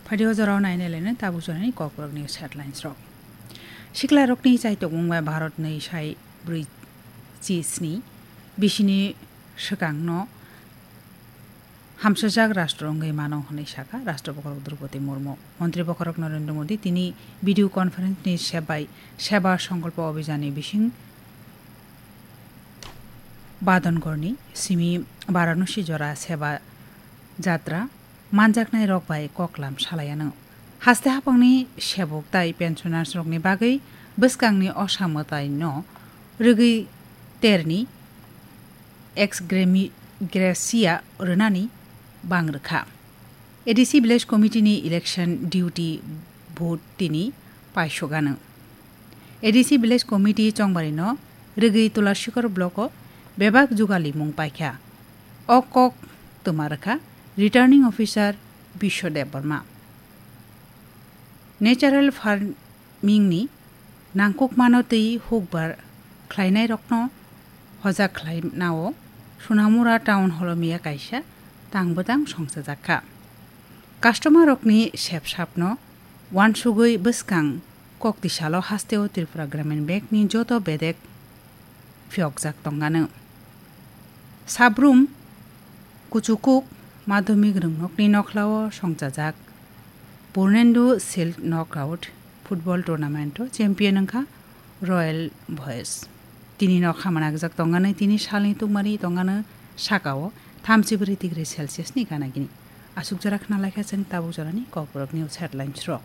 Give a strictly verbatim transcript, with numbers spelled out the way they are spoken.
Phaidi o jorao nainai laino tabuk jorani kokborok news headlines rok. Sikla rokni chaitokmung bai Bharat ni sai brwi chi sni bisini swkangno hamsajak rastro wngwi mano hwnwi sakha Rastro Bokhorok Droupadi Murmu. Montri Bokhorok Narendra Modi tini video conference ni sebai Seba Sankalpa Abhijan ni bising Badongorni simi Varanasi jora Seba Jatra manjaknai rok bai koklam salai anw. Haste hapangni sebuk tai pensioners rokni bagwi bwskangni osa mwtai no rwgwi terni ex gratia rwnani bang rwkha. A D C Village Committee ni election duty vote tini paisok anw. A D C Village Committee Chongbari no rwgwi Tulashikor block o bebak jugalimung paikha. O kok twma rwkha Returning Officer Biswa Debbarma. Natural farming ni nangkukmano twi hukbar khlainairokno hojak khlainao Sonamura Town Hall o miya kaisa tang bwtang songchajakha. Customer rokni sepsapno wansugwi bwskang koktisalo hasteo Tripura Gramin Bank ni joto bedek phiyokjak tongano. Sabrum kuchukuk madhyamik rwngnokni nokhlao songchajak Purnendu Silk Knockout football tournament o champion wngkha Royal Boys. Tini no khamana gwjak tongani tini salni tungmani tongano sakao thamchi bwrwi degree Celsius ni gana gini. Aswk jora khna laikha chwng tabuk jorani kokborok news headlines rok.